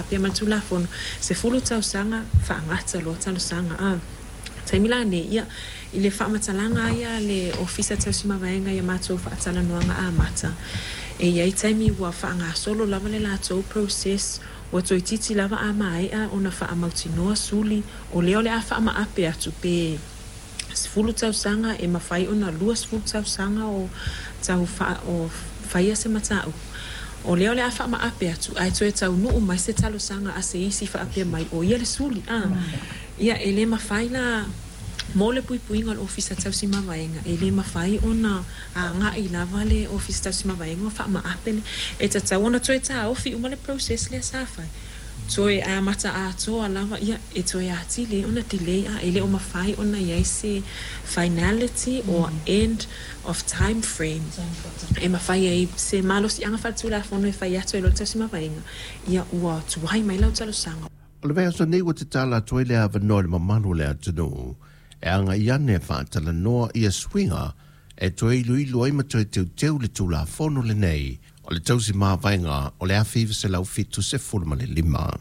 faapea mai le Tulafono, 10 tausaga faagata loa talosaga a. Taimi la nei, ia, i le faamatalaga lava ia a le Ofisa Tausi Mavaega i a matou faatalanoaga amata, e i ai taimi ua faagasolo lava le latou process, ua toeitiiti lava a maea ona faamautinoa suli, o lea o le a faamaape atu pe 10 tausaga, e mafai ona 20 tausaga o tau o faia se mataupu. O lea o le a faamaape atu, ae toe taunuu mai se talosaga a se isi faapea mai o ia le suli. A, ia, e le mafai la mo le puipuiga o le Ofisa Tausi Mavaega, e le mafai ona agai lava le Ofisa Tausi Mavaega ma faamaape le, e tatau ona toe taofi uma le process lea sa fai, toe amata atoa lava, ia, e toe atili ai ona delay, a e le o mafai ona i ai se finality or end of time frame e mafai ai se malosiaga faaletulafono e fai atu ai loa le Tausi Mavaega, ia, ua tuai mai lau talosaga. O le vaiaso nei ua tatala atu ai le avanoa i le mamalu o le atunuu e agai ane e faatalanoa ia suiga e toe iloilo ai ma toe teuteu le Tulafono lenei o le Tausi Mavaega o le 1975.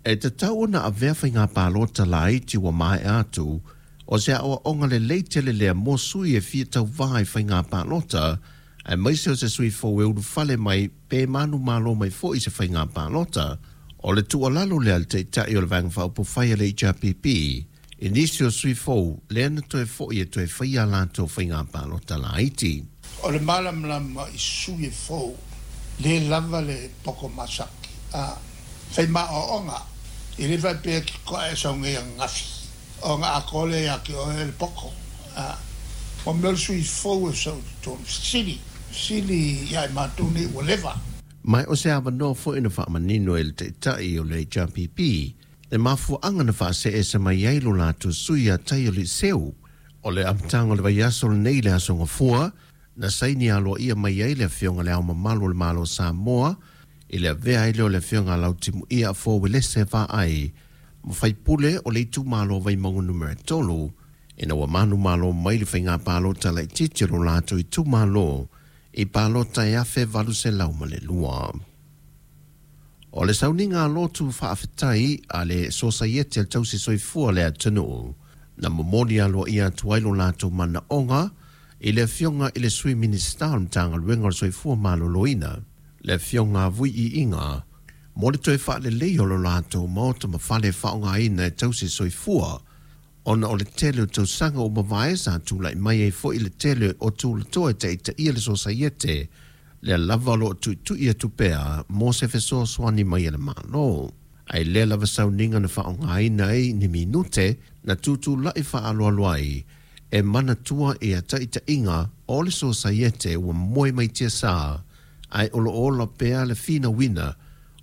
E tatau ona avea faiga palota laiti ua maea atu o se aoaoga lelei tele lea mo sui e fia tauvā i faiga palota, aemaise o se sui fou e ulufale mai pe manumalo mai foi i se faiga palota. O le tuualalo lea a le Taitai o le Vaega Faaupufai a le HRPP i nisi o sui fou lea na toe foi e toe faia a latou faiga palota laiti. O le malamalama i sui e fou le lava le poko masaki a fai maoaoga e le faapea ke koa e sau nei ananafi o ga atoa lea ia te oe le poko a o mea o le sui fou e sau i totonu fesili fesili ia i matou nei ua leva. Ma o se avanoa foi na faamanino e le Taitai o le HRPP le mafuaaga na faasee mai ai lo latou sui ia Taia Liseu. O le amataga o le vaiaso lenei le Aso Gafua na saini aloaia mai ai le Afioga Le Ao Mamalu o le Malo Samoa i le avea ai lea o le Afioga Lautimuia Afoa Uelese Vaai ma faipule o le itumalo Vaimauga numera 3, ina ua manumalo mai le faiga palota laitiiti o lo latou itumalo i palota e 1802. O le sauniga lotu faafetai a le Sosaiete a le Tausi Soifua le atunuu na momoli aloaia atu ai lo latou manaoga i le Afioga i le Sui Minisita o le Matagaluega o le Soifua Maloloina, le Afioga Vui Iiga, mo le toe faalelei o lo latou maota ma fale faaaogaina e tausi soifua, ona o le tele o tausaga ua mavae sa tulai mai ai foi le tele o tulatoa e taitaia le sosaiete lea lava o loo tuitui atu pea mo se fesoasoani mai e le Malo. Ae lea lava sauniga na faaaogaina ai ni minute na tutulai faaaloalo ai e manatua ia taitaiga o le sosaiete ua moe mai tiasā, ae o loo ola pea le finauina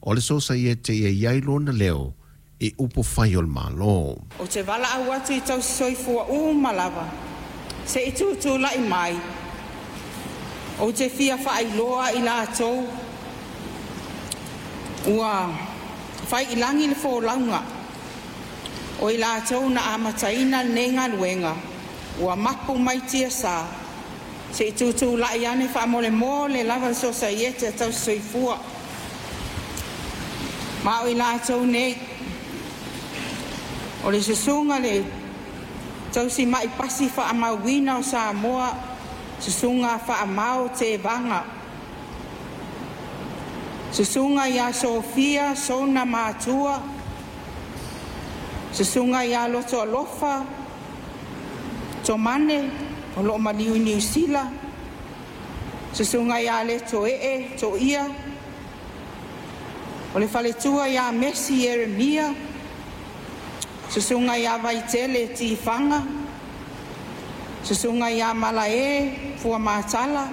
o le sosaiete ia i ai lona leo i upu fai o le Malo. Ou te valaau atu i tausi soifua uma lava se i tutulai mai. Ou te fia faailoa i latou ua fai i lagi le folauga o i latou na amataina lenei galuega ua mapu mai tiasā se i tutulai ane faamolemole lava le sosaiete a tausi soifua. Ma o i latou nei o le susuga le tausi mai pasi faamauina o Samoa, susuga Faamao Tevaga, susuga ia Sofia Sona Matua, susuga ia Loto Alofa Tomane o loo maliu i Niusila, susuga ia Letoee Toia, o le faletua ia Mesi Ieremia, susuga ia Vaitele Tifaga, susuga ia Malae Fuamatala,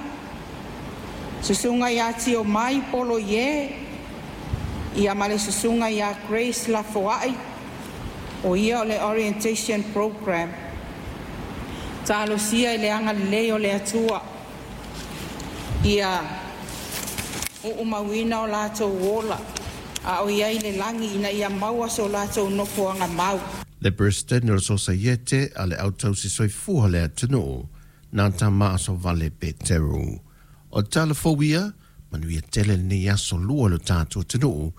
susuga ia Tiomai Poloie, ia ma le susuga ia Grace Lafoai, o ia o le orientation program. Talosia i le agalelei o le Atua ia uumauina o latou ola a o iai le lagi ina ia maua so latou nofoaga mau. Le Peresetene o le Sosaiete a le Au Tausi Soifua le atunuu, na Tama Asovale Peteru. O tala fou ia, manuia tele lenei aso lua lo tatou atunuu.